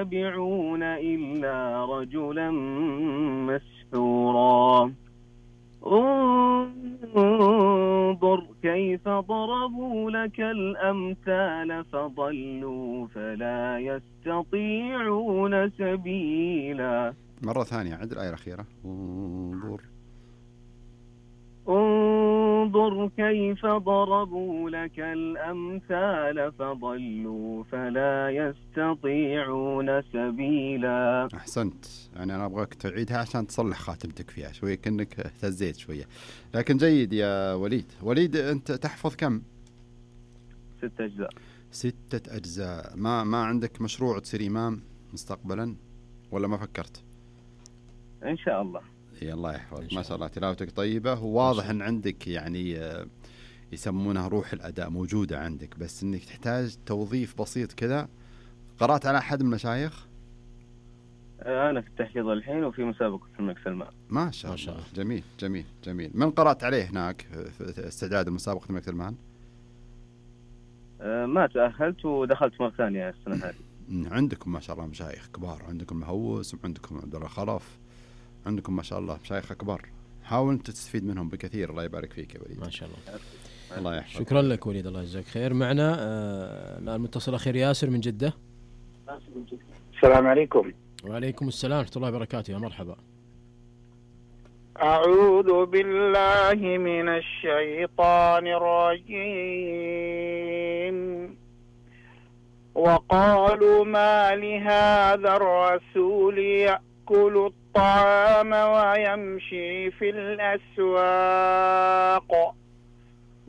يتبعون إلا رجلا مسحورا. انظر كيف ضربوا لك الأمثال فضلوا فلا يستطيعون سبيلا. مرة ثانية عد الآية الأخيرة. انظر كيف ضربوا لك الأمثال فضلوا فلا يستطيعون سبيلا. أحسنت. يعني أنا أبغاك تعيدها عشان تصلح خاتمتك فيها شوية، كأنك اهتزيت شوية، لكن جيد يا وليد. وليد أنت تحفظ كم؟ 6 أجزاء. 6 أجزاء. ما عندك مشروع تصير إمام مستقبلا ولا ما فكرت؟ إن شاء الله. الله يحفظك. ما شاء الله تلاوتك طيبة، وواضح أن عندك يعني يسمونها روح الأداء موجودة عندك، بس أنك تحتاج توظيف بسيط كذا. قرأت على أحد من المشايخ؟ أنا في التحفيظ الحين وفي مسابقة في الملك سلمان. ما شاء الله. جميل جميل جميل. من قرأت عليه هناك في استعداد المسابقة الملك سلمان؟ ما تأهلت ودخلت مرة ثانية السنة هذه. عندكم ما شاء الله مشايخ كبار، عندكم المهوس وعندكم عبد الله خلف، عندكم ما شاء الله مشايخ كبار، حاول أنت تستفيد منهم بكثير. الله يبارك فيك يا وليد. ما شاء الله. الله يحفظك. شكرا لك وليد، الله يجزاك خير. معنا الآن متصل أخير ياسر من جدة. السلام عليكم. وعليكم السلام ورحمة الله وبركاته. يا مرحبا. أعوذ بالله من الشيطان الرجيم. وقالوا ما لهذا الرسول يأكل الطعام ويمشي في الأسواق